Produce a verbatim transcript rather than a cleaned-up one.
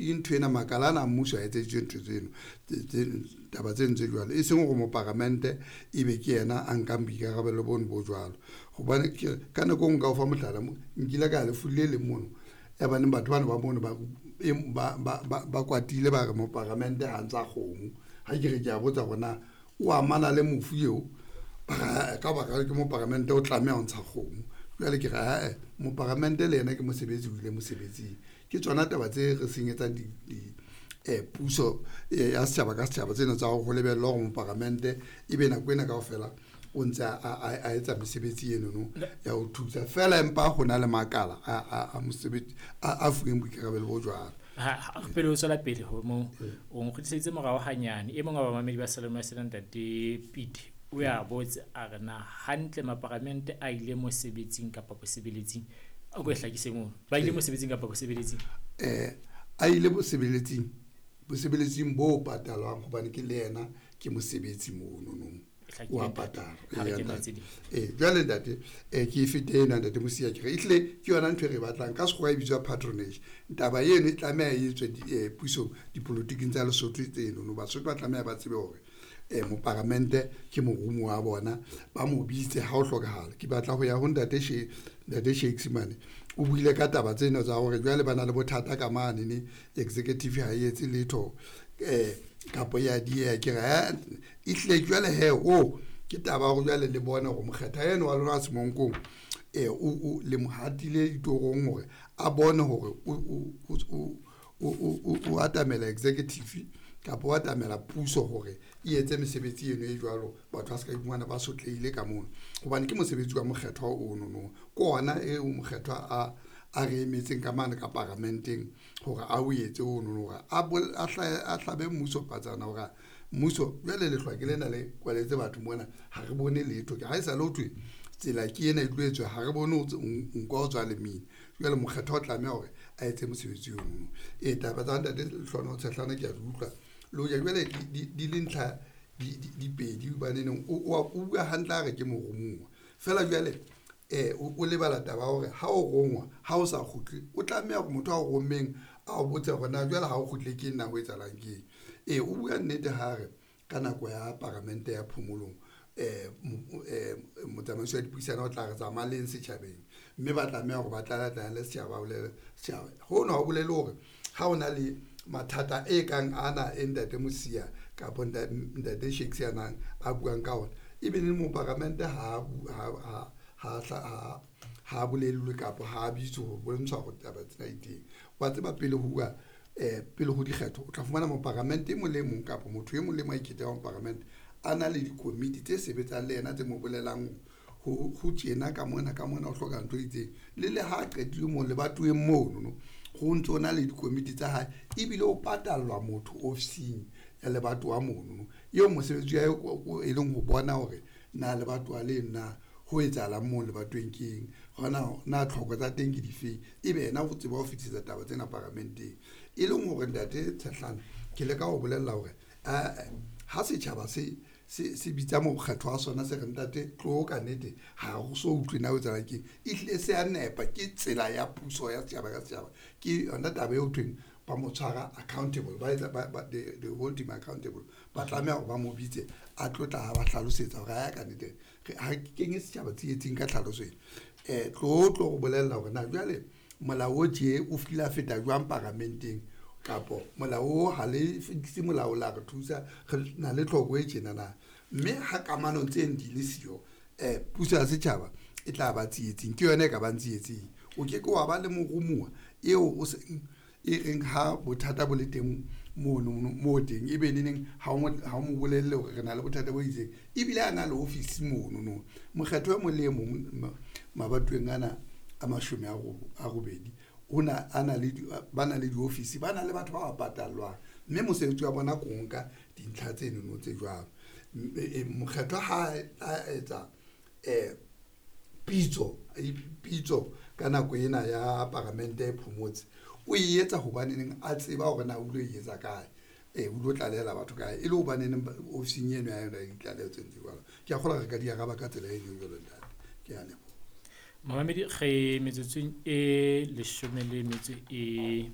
Ke ntho ena makala ana a mmuso a etseditswe ntho tseno taba tseno tse jwalo, e seng hore moparamente ebe ke yena a nkang boikarabelo bono bo jwalo. Hobane ke ka nako e nngwe nka o fa mohlala, nkile ka ya lefung le leng mono ya baneng batho bana ba mono ba ba ba ba kwatile ba re moparamente ha ntsha kgomo. Ha ke re kea botsa hore na o amana le mofu eo, ba re ka baka ke moparamente o tlameha ho ntsha kgomo. Jwale ke re ae moparamente le yena ke mosebetsi o ile mosebetsing. Ke tsona taba tse re senyetsang di di puso ya setjhaba ka setjhaba tsena tsa hore ho lebellwa hore moparamente ebe nako ena kaofela o ntse a etsa mesebetsi enono ya ho thusa fela, empa ho na le makala a mosebetsi a fuweng boikarabelo bo jwalo. Ha pele o tswela pele ho mo o nkgutliseditse morao hanyane. E mong wa bamamedi ba Salome sena ntate Pete o ya botse a re na hantle maparamente a ile mosebetsing kapa bosebeletsing, a ko e hlakise mono, ba ile mosebetsing kapa bosebeletsing? Eh a ile bosebeletsing, bosebeletsing bo patalwang hobane ke le yena ke mosebetsi mono no wa patala. Eh jwale ntate eh ke fete ena ntate Mosia, ke re ehlile ke yona ntho e re batlang ka sekgowa e bitswa patronage. Taba eno e tlameha e etswe pusong dipolotiking tsa Lesotho tseno no, Basotho ba tlameha ba tsebe hore eh moparamente ke morumo wa bona, ba mo bitse ha o hlokahala. Ke batla ho ya ho ntate She ntate Shakes mane, o buile ka taba tsena tsa hore jwale ba na le bothata ka mane ne executive ha e etse letho eh kapo ya dieha. Ke re ehlile jwale he o ke taba hore jwale le bone hore mokgetha eno wa lona Semonkong eh o le mo hatile ditorong hore a bone hore o o o o atamela executive kapa o atamela puso hore e etse mesebetsi eno e jwalo, batho ba se ka iphumana ba sotlehile ka mono, hobane ke mosebetsi wa mokgethwa ono no ke ona eo mokgethwa a a re emetseng ka mane ka paramenteng hore a o etse ono hore a a hlabe mmuso patsana hore mmuso jwale lehlwa ke lena le kwaletse batho mona, ha re bone letho. Ke ha e sa le ho thwe tsela ke ena e tlo etswa, ha re bone nko o tswa lemina. Jwale mokgethwa o tlameha hore a etse mosebetsi ono. E taba tsa ntate Lehlono Tshehlana ke a di utlwa le hoja jwale di le ntlha di pedi, hobaneneng o bua hantle a re ke morumuwa fela jwale eh o lebala taba hore ha o rongwa ha o sa kgutle o tlameha hore motho a o rommeng a o botse hore na jwale ha o kgutle ke nna ho etsahalang keng. E o bua nnete ha re ka nako ya paramente ya phomolong eh motsamaisi wa dipuisano o tla re tsamayeng setjhabeng, mme ba tlameha hore ba tlala le setjhaba, ba bolele setjhaba. Hono ha o bolele hore ha o na le mathata e kang ana e ntate Mosia kapa ntate Shakes a a buang ka ona, ebe le moparamente ha ha ha ha bolellwe kapa ha bitswe ho bontsha hore taba tsena di teng. Wa tseba pele ho bua eh pele ho dikgetho o tla fumana moparamente e mong le mong kapa motho e mong le mong a ikgethang moparamente a na le dikomiti tse sebetsang le yena tse mo bolelang ho ho tjena ka mona ka mona o hloka ntho e itseng. Le le ha qetile mo lebatoweng mono no ho ntso na le dikomiti tsa hae, ebile o patallwa motho ofising ya lebatowa mono no eo mosebetsi wa hae e leng ho bona hore na lebatowa le na ho etsahalang moo lebatoweng ke eng, hona na tlhoko tsa teng ke difeng, ebe yena o tseba ho fetisetsa taba tsena paramenteng. E leng hore ntate Tshehlana ke leka ho bolella hore ha setjhaba se se se bitsa mokgatlo wa sona se re ntate tlo ka nnete ha ho so utlwe na ho etsahalang keng, ehlile se a nepa, ke tsela ya puso ya setjhaba ka setjhaba. Ke yona taba eo thweng ba mo tshwara accountable, ba etsa ba they hold him accountable, ba tlameha hore ba mo bitse a tlo tla ba hlalosetsa hore ha ya ka nnete ha ke kenye setjhaba tsietsing ka tlhaloso ena. Eh tlo tlo go bolella hore na jwale molao o tje o file a feta jwang paramenteng, kapo molao o ha le fekise molao la re thusa re na le tlhoko e tjena na, mme ha kamano tse di le siyo eh puso ya setjhaba e tla ba tsietsing, ke yona e ka bang tsietsing. O ke ke wa ba le morumuwa eo o se e reng ha bothata bo le teng mono mo teng ebe neneng ha o mo bolelle hore re na le bothata bo itseng, ebile a na le ofisi mono no. Mokgetho e mong le e mong mabatoweng ana a mashome a robedi ona a na le ba na le diofisi, ba na le batho ba ba patallwang, mme mosebetsi wa bona ko nka dintlha tseno tse jwalo. Mokgetho ha a etsa eh pitso pitso ka nako ena ya paramente e phomotse, o e etsa hobaneneng a tseba hore na o lo e etsa kae, eh o lo tlalehela batho kae, e le hobaneneng ofising eno ya yona ya ditlaleho tse ntse jwalo. Ke a kgolwa re ka di araba ka tsela e jwalo ntate, ke a leboha. Mamamedi re metsotsong e leshome le metso e